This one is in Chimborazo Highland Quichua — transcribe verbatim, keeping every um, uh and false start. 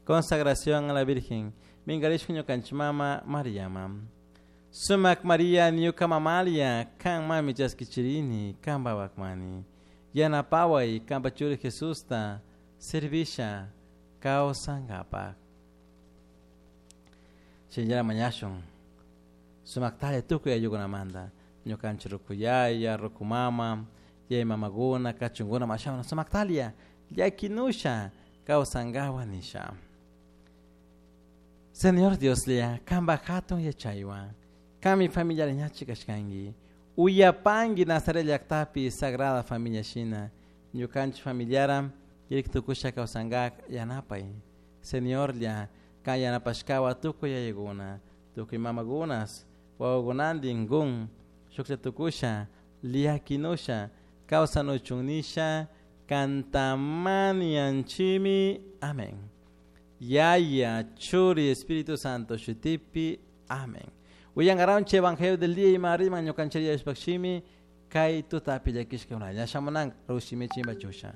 Consagración a la Virgen. Mingarishka ñukanchik mama Mariama. Sumak Maria ñuka mamalia kan mami chaskichirini kanpa wakmani. Yanapaway kanpa churi Jesusta servisha kawsankapak. Shinllana mañashun. Sumaktalla tukuy ayllukunamanta. Ñukanchik rukuyaya, rukumama, yaya mamakuna, kachunkuna mashawana sumaktalia llakinusha kawsankawa nisha. Señor Dioslla, kanpa hatun yachaywan, kanmi familiar ñachi kashkanki, uyapanki Nazaret llaktapi Sagrada Familia shina, ñukanchik familiara kirik tukusha kawsankak yanapay. Señorlla, kan yanapashkawa tukuy yayakuna, tukuy mamakunas, wawakunantin kun, shuklla tukusha, llakinusha, kawsanuchun nisha, kantamanianchimi. Amén. Yaya, Churi, Espíritu Santo, shutipi. Amén. Uyangaranche Evangelio del día y marima ñukanchik Diospaj shimi kay tutapi llakishka unalla shamunan rushimi chimba chusha.